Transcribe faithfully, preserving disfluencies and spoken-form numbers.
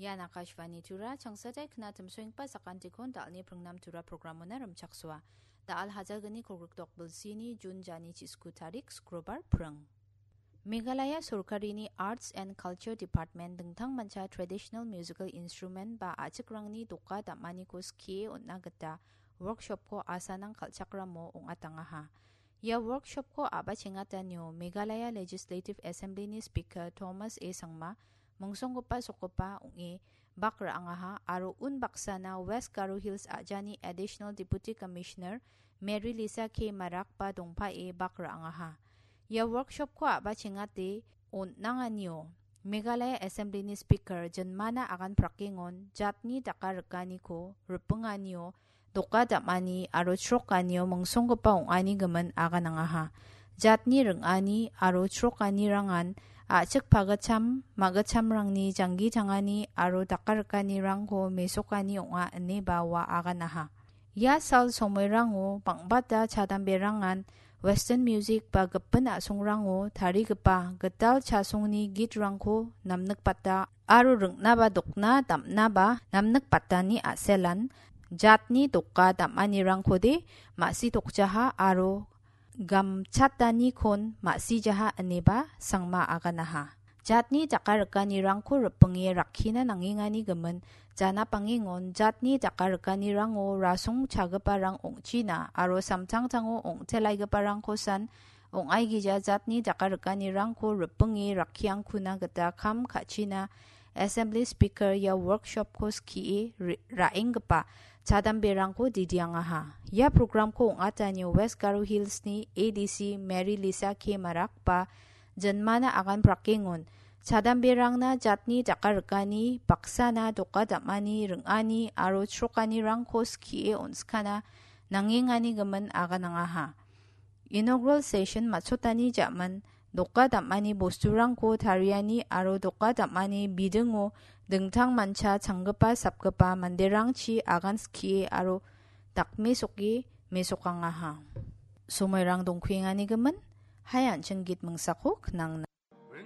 Ian Akashvani Tura, changsatai knatim soengpa sakantikon dalni pringnam Tura programona rimchaksoa. Dal hajalgni kolgrikdok bilsini Jun jani chisku tarik Skrobar pring. Meghalaya Sorkarini Arts and Culture Department dingtang mancha traditional musical instrument ba a·chikrangni doka dam·aniko skie on·na gita workshopko asanang kal·chakramo ong·atangaha. Ia workshopko a·bachengatanio Meghalaya Legislative Assemblyni Speaker Thomas A Sangma, mingsonggipa sokgipa ong·e bak ra·angaha aro unbaksana West Garo Hills a·jani Additional Deputy Commissioner Mary Lisa K Marakba dongpae bak ra·angaha. Ia workshopko a·bachengate on·nanganio Meghalaya Assemblyni Speaker Jinmana Agan Prakengon jatni daka rikaniko ripinganio doka dam·ani aro chrokanio mingsonggipa ong·ani gimin aganangaha. Jatni ring·ani aro chrokanirangan a·chik pagitcham, magitchamrangni janggi tangani aro daka rikanirangko mesokani ong·a ineba ua aganaha. Ia sal somoirango bang·bata chadamberangan western music ba gipin a·songrango tarigipa gital chasongni gitrangko namnikbata aro ring·naba dokna dam·naba namnikbatani a·selan jatni doka dam·anirangkode ma·si dokjaha aro gamchatanikon ma·sijaha ineba Sangma aganaha. Jatni daka rikanirangko ripinge rakkina nangengani gimin janapangengon jatni daka rikanirango rasong chagiparang ong·china aro samtangtango ong·telaigiparangkosan ong·aigija jatni daka rikanirangko ripinge rakkiangkuna gita kam ka·china Assembly Speaker ia workshopko skie re-, ra·enggipa chadamberangko didiangaha. Ia programko ong·atanio West Garo Hillsni A D C Mary Lisa K Marak ba Jinmana Agan Prakengon chadamberangna jatni daka rikani, baksana doka dam·ani, ring·ani aro chrokanirangko skie on·skana nangengani gimin aganangaha. Inaugural session matchotani ja·man doka dam·ani bosturangko tariani aro doka dam·ani bidingo dingtang mancha changgipa sapgipa manderangchi agan skie aro dakmesoke mesokangaha. Somoirang dongkuengani gimin, hai an·ching git mingsako knangna.